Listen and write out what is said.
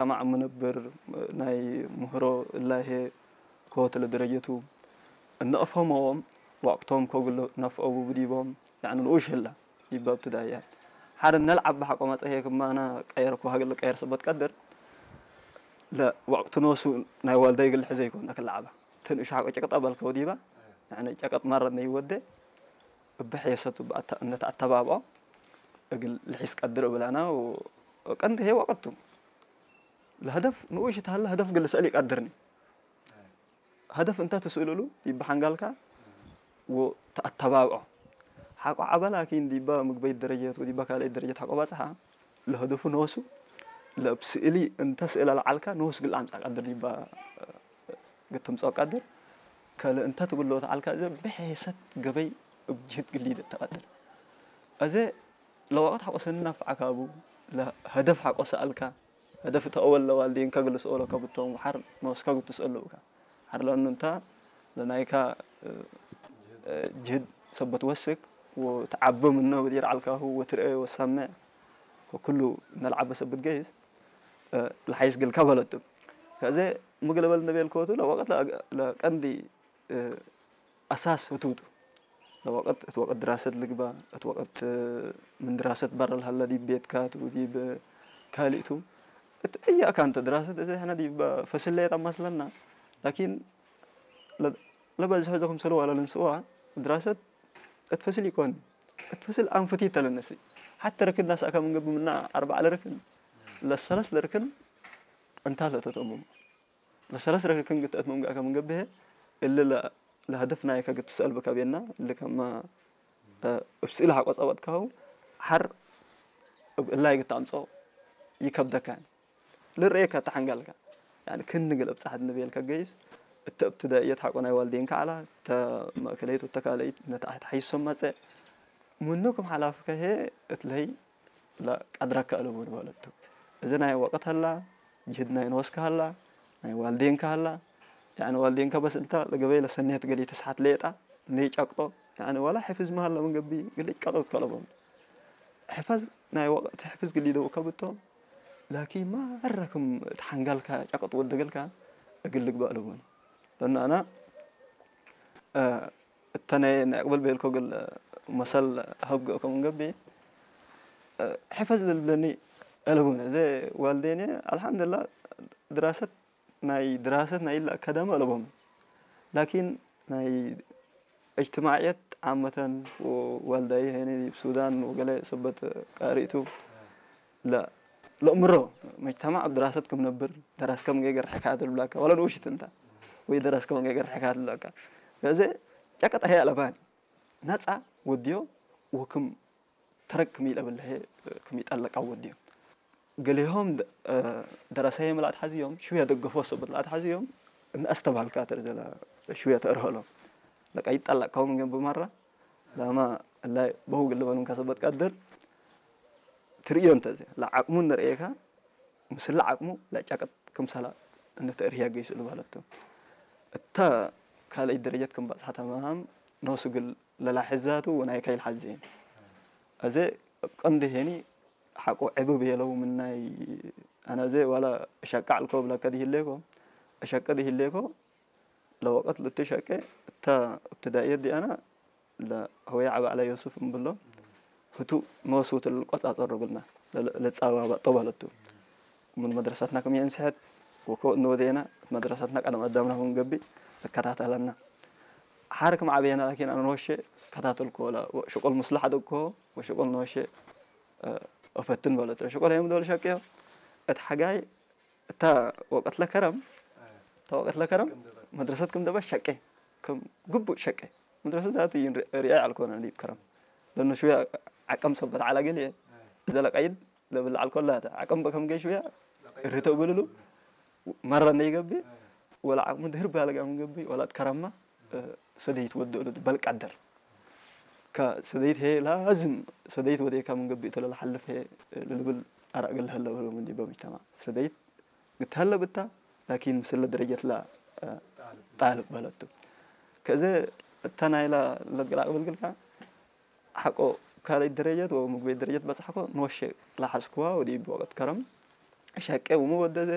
ከማዕ ምነብር ናይ ምህሮ እላሄ ኮት ለደረጀቱ እነእፈሞዎም ወቅቶም ኮግሎ ነፍኦቡ ብዲቦም ያዕኒ ንኡሽ ህላ ዲባ ብትዳያ ሓረ ነልዓብ ሓቆ ማጸሄ ክማና ቀየር ኮ ሃገል ቀየር ሰበት ቀድር ለወቅቱ ኖሱ ናይ ዋልዳይ ግል ሕዘ ይኮን ነክልዓባ ተንእሽ ሓቆ ጨቅጣ በልከው ዲባ ያዕኒ ጨቀጥ ማረ ነይወደ እብሕየሰቱ እነተኣተባብዖ እግል ልሒስ ቀድር እብላና ቀንዲ ሄ ወቅቱ ለሀደፍ ንኡሽ ተሃለ ሀደፍ ግል ስእል ይቀድርኒ ሀደፍ እንተ ትስእልሉ ይበሓንጋልካ ወተኣተባብዖ ሓቆ ዓበላ ኪን ዲባ ምግበይት ደረጀት ወዲባ ካልአይት ደረጀት ሓቆ ባጽሓ ለሀደፉ ነወሱ ለብ ስእሊ እንተ ስእላ ለዓልካ ነወሱ ግል ኣምጻ ቀድር ዲባ ግትምጻኦ ቀድር ከለ እንተ ትብሎ ተዓልካ እዘ ብሕሰት ገበይ እብ ጅህድ ግሊድ ተቐድር እዘ ለወቐት ሓቆሰኒ ናፍዓካቡ ለሀደፍ ሓቆ ሰኣልካ ሀደፍ ተአወል ለዋልዴን ከግል ስኦሎ ከብቶም ሓር ነወስካ ግትስኦሎ ብካ ሓር ለኑ እንታ ለናይካ ጅህድ ሰበት ወስክ ወተዓበ ምነ ብዲር ዓልካሁ ወትርአ ወሳምዕ ከኩሉ ነልዓበ ሰብት ገይስ ለሓይስ ግልካ በለቱ ከዚ ምግለበል እንደቤልከወቱ ለወቀት ለቀንዲ ኣሳስ ህቱቱ ለወቀት እቲ ወቀት ድራሰት ልግባ እቲ ወቀት ምን ድራሰት በረ ለሃለ ዲብ ቤትካ ቱ ዲብ ካልእቱ እቲ እያ ካንተ ድራሰት እዚ ሕና ዲብ ፈስለየት ኣማስለና ላኪን ለበዝሖ ዘኹም ሰልዋ ለልንስዋ ድራሰት እትፈስል ይኮን እትፈስል ኣንፍቲ ተለነሲ ሓተ ርክን ናሳእካ ምንገብ ምና ኣርባዕ ለርክን ለሰለስ ለርክን እንታ ለተተሙ ለሰለስ ለርክን ግትአት ምንጋእካ ምንገብሄ እሊ ለሀደፍ ናይካ ግትስአል ብከቤና እሊ ከማ እብ ስእሊ ሓቆ ጸበጥካሁ ሓር እብ እላይ ግታምጾ ይከብደካን ልርእየካ ተሓንጋልካ ያኒ ክንግል እብ ጻሕት ንቤልካ ገይስ እተ እብትዳእየት ሓቆ ናይ ዋልዴንካ ዓላ እተ ማእከለይት ወተካለይት ነታ ኣሕት ሓይሶም ማጸ ምኑ ክም ሓላፍከ ሄ እትለይ ላ ቀድረካ ኣለቦ ንባለቱ እዚ ናይ ወቀት ሃላ ጅህድ ናይ ንወስካ ሃላ ናይ ዋልዴንካ ሃላ ያኒ ዋልዴንካ በስ እንታ ለገበይ ለሰኔት ገሊ ተስሓት ሌጣ ነይ ጨቅጦ ያኒ ዋላ ሕፍዝ መሃላ መንገቢ ግልጭ ቀጦት ከለቦም ሕፈዝ ናይ ወቀት ሕፍዝ ግሊ ደው ከብቶም ላኪን ማራ ከም ተሓንጋልካ ጨቅጥ ወደገልካ እግል ልግባእ ኣለቦን ለና ኣና እተነ ናይ ቅብል ቤልኮ ግል መሰል ሀብገ ከም ገቢ ሕፈዝ ልብለኒ ኣለቦን እዚ ዋልዴን ኣልሓምዱላ ድራሰት ናይ ድራሰት ናይ ኢላ ከደመ ኣለቦም ላኪን ናይ እጅትማዕየት ዓመተን ወዋልዳይ ሄኒ ሱዳን ወገለ ሰበት ቃሪእቱ ለእምሮ መጅተማዕ ኣብ ድራሰት ክም ነብር ደራስ ከም ገገር ሕካያት ልብላካ ወላ ንውሽት እንታ ወይ ደራስ ከም ገገር ሕካያት ልብላካ ገዘ ጨቀጥ ሀያ ለባን ነፃ ወድዮ ወክም ተረክ ክም ይለብል ክም ይጠለቃ ወድዮ ገሌሆም ደረሰየ ምላእት ሓዝዮም ሽውያ ደገፎ ሰበት ላእት ሓዝዮም እናኣስተባልካ ተርዘላ ሽውያ ተእርህሎም ለቃ ይጠለቅካው ምገን ብማራ ላማ እላይ በው ግልበሉን ከሰበት ቀድር ትርእዮ እንተዘ ለዓቅሙ ንርእየካ ምስላ ዓቅሙ ለጫቀጥ ክምሰላ እንተእርህያ ገይስሉ ባለቱ እታ ካልኣይ ደረጃት ከም ባጽሓ ተማሃም ነሱ ግል ለላሕዛቱ ወናይ ካይል ሓዝን እዚ ቀንዲ ሄኒ ሓቆ ዕብብ የለው ምናይ ኣነ እዚ ዋላ እሸቃ ኣልኮ ብለከ ድሂሌኮ እሸቀ ድሂሌኮ ለወቀት ልትሸቀ እታ እብትዳእየት ዲኣና ለሆያ ዓባዕላ ዮሱፍ እምብሎ ህቱ መወስውት ልቆጻጸሮ ብልና ለጻባባጦ ባለቱ ምን መድረሳትና ከም የንስሐት ወኮ እንወደየና መድረሳትና ቀደም ኣዳምና ክንገቢ እከታተለና ሓር ከም ዓበየና ላኪን ኣነ ንወሸ ከታተልኮ ወላ ሽቆል ሙስላሕ ደኮ ወሽቆል ንወሸ እፈትን በለቱ ሽቆል የምደወል ሸቅዮ እቲ ሓጋይ እታ ወቀት ለከረም እታ ወቀት ለከረም መድረሰት ከም ደባ ሸቄ ከም ግቡእ ሸቄ መድረሰት ዛቱ ሪኣይ ኣልኮነ ሊብ ከረም ለነ ሽውያ ዓቀም ሰበት ዓላ ገሊኤ እዛ ለቀይድ ለብል ኣልኮላ ዓቀም በከም ገይ ሽውያ ርህተው ብልሉ መራ ነይገቢ ወላ ዓቅሙ ድህር ባለጋ ምንገቢ ወላ ከረማ ሰደይት ወደሉ በልቃደር ሰደይት ሄ ላዝም ሰደይት ወደካ ምንገቢ ተለላ ሓልፍ ሄ ልልብል ኣራእገል ሀለ በሉ ምንዲ በምጅተማ ሰደይት ግትሀለ ብታ ላኪን ምስለ ደረጀት ላ ጣልብ በለቱ ከዚ እታ ናይላ ለግላቅ ብልግልካ ሓቆ ካልኣይ ደረጀት ወምግበይ ደረጀት በጽሓኮ ንወሸ ላሓዝክዋ ወዲ ወቀት ከረም ሸቄ ውሙ ወደዘ